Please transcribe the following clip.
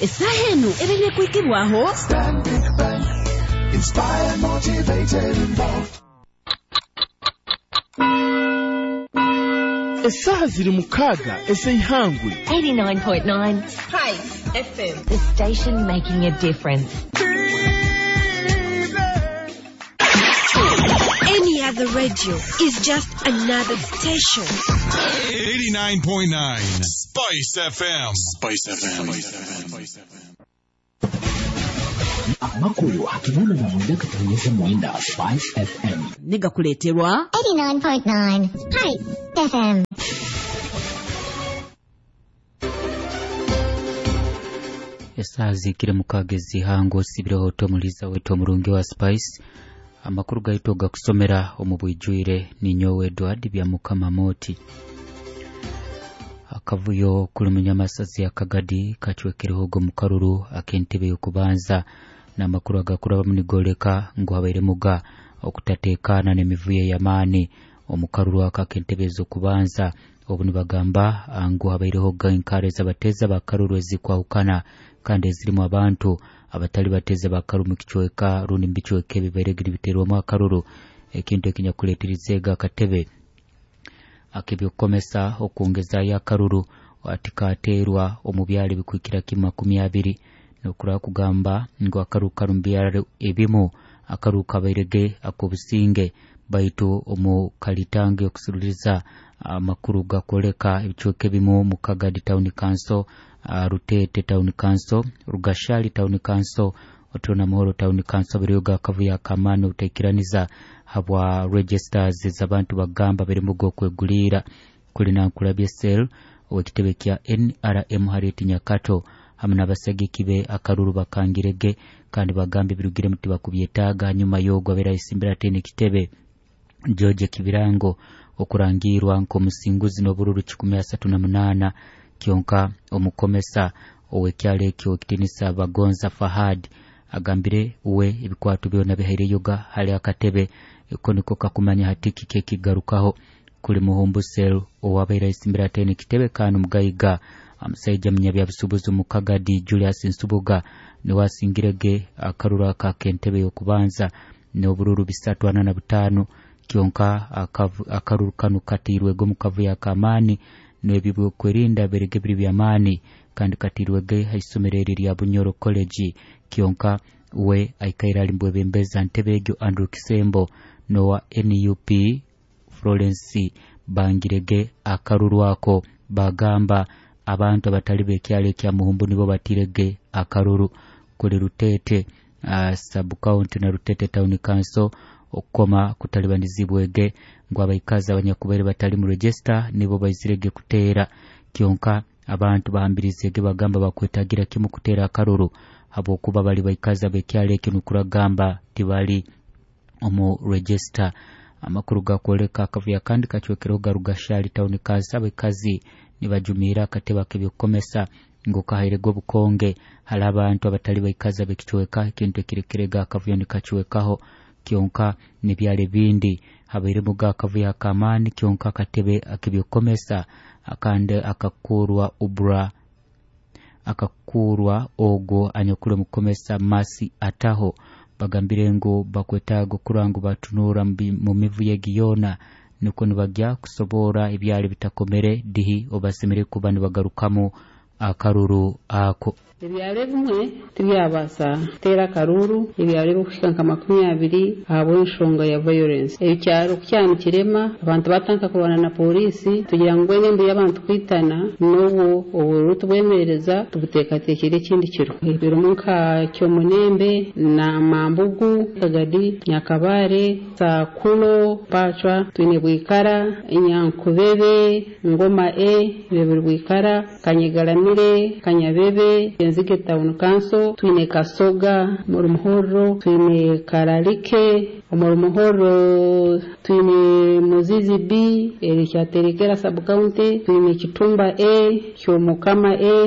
Esaaha enu ebaire kuhikibwaho Stanbic Bank. Inspired, motivated, involved. Esaha ziri 6 ez'eihangwe. 89.9 Spice FM. The station making a difference. Any other radio is just another station. 89.9 Spice FM. Spice FM. Spice FM. Amakuru hakinana na mwenda katonyeza mwenda Spice FM. Negakuleterwa 89.9 Spice FM. Esaha zikire 6 ezihango osibireho tomuliza wetu omurungi wa Spice. Amakuru gaitu gakusomera omu bwijwire ninyowe Edward bya Mukama Moti. Akavuyo kuli munyamasazi ya Kagadi kachwekereho go mukaruru akentebe yokubanza n'amakuru agakuraba munigoleka ngu habaire muga okutatekana n'emivuyo y'amaani omukaruru aka akentebe z'okubanza. Obu nibagamba ngu habaireho enkare z'abateza bakaruru ezikwahukana kandi ezirimu abantu abatali bateza bakaruru mu kicweka rundi mu bicweka ebibaire nibiterwamu akaruru, ekintu ekinyakuleetirizega akatebe ak'ebyokukomesa okwongezayo akaruru atikateerwa omu byaro ebikuhikira kimu 20. Nokuraba kugamba ngu akaruru kari mu byaro ebimu akaruru kabairege ak'obusinge, baitu omu kalitange okusururiza amakuru gakwoleka ebicweka ebimu mu Kagadi Town Council, Rutete Town Council, Rugashali Town Council, Otona Muhoro Town Council biriyo gakavuyo akamani obutaikiraniza habwa registers z'abantu bagamba birimu g'okwegulira. Kuli nankulabye sel ow'ekitebe kya NRM Harriet Nyakato hamwe n'abasagiki be akaruru bakangirege kandi bagamba ebirugiremu tibakubyetaaga. Hanyuma y'ogwo abeera ayesimbira atene ekitebe George Kibirango okurangirwa nk'omusinguzi n'obururu 138, kyonka omukomesa ow'ekyalo ekyo ekitinisa Bagonza Fahad agambire we ebikwato byona bihaireyoga hali akatebe eko niko kakumanya hati kiki ekigarukaho. Kuli Muhumbu Sel owabaire ayesimbira atene ekitebe kandi omugayiga omusaija munyabyabusuubuzi mu Kagadi Julius Nsubuga niwe asingirege akaruru aka ak'entebe y'okubanza n'obururu 345, kyonka akaruru kanu katiirwege omu kavuyo ak'amaani n'eby'okwerinda birege biri by'amaani kandi katiirwege ha isomero eri rya Bunyoro College, kyonka we aikaire ali mbwebembeza ntebe egyo Andrew Kisembo n'owa NUP Florence bangirege akaruru ako bagamba abantu abatali b'ekyalo ekya Muhumbu nibo batirege akaruru. Kuli Rutete sub county na Rutete Town Council okukoma kutalibanizibwege ngu abaikazi abanyakubaire batali mu register nibo baizirege kuteera, kyonka abantu bahambirizege bagamba bakwetagira kimu kuteera akaruru habwokuba bali baikazi ab'ekyalo ekyo nukuragamba tibali omu register. Amakuru gakwoleka akavuyo kandi kacwekereho Garugashali Town Council abaikazi nibajumiira akatebe ak'ebyokukomesa ngu kahairege obukonge hali abantu abatali baikazi ab'ekicweka, ekintu ekirekirega akavuyo nikacwekaho. Kyonka n'ebyaro ebindi habairemu akavuyo ak'amaani, kyonka akatebe ak'ebyokukomesa akandi akakurwa ubra akakurwa ogwo anyakuli omukomesa Masi Ataho bagambire ngu bakwetaaga okurora ngu batunuura mu mivuyo egi yoona nukwo nibagya kusobora ebyaro bitakomere dihi obasemere kuba nibagarukamu akaruru ako. Ebyaro ebimwe tibyabaasa kuteera akaruru, ebyaro ebikuhika nka 20 ahabw'enshonga ya violence. Ekyaro kukyanikirema abantu batandika kurwana na polisi tugira ngu embi y'abantu kwitana n'obwo obururu tubwemereza tubuteekateekire ekindi kiro. Birimu nka Kyomunembe na Mambugu, Kagadi, Nyakabare, Sakulo, Pacwa, twine Bwikara, Nyankubebe, Ngoma E, bibiri Bwikara, Kanyegaramire, Kanyabebe, Nzige Town Council, twine Kasoga muri Muhoro, twine Kararike muri Muhoro, twine Muzizi B erikyaterekera sub county, twine Kitumba A, Kyomukama A.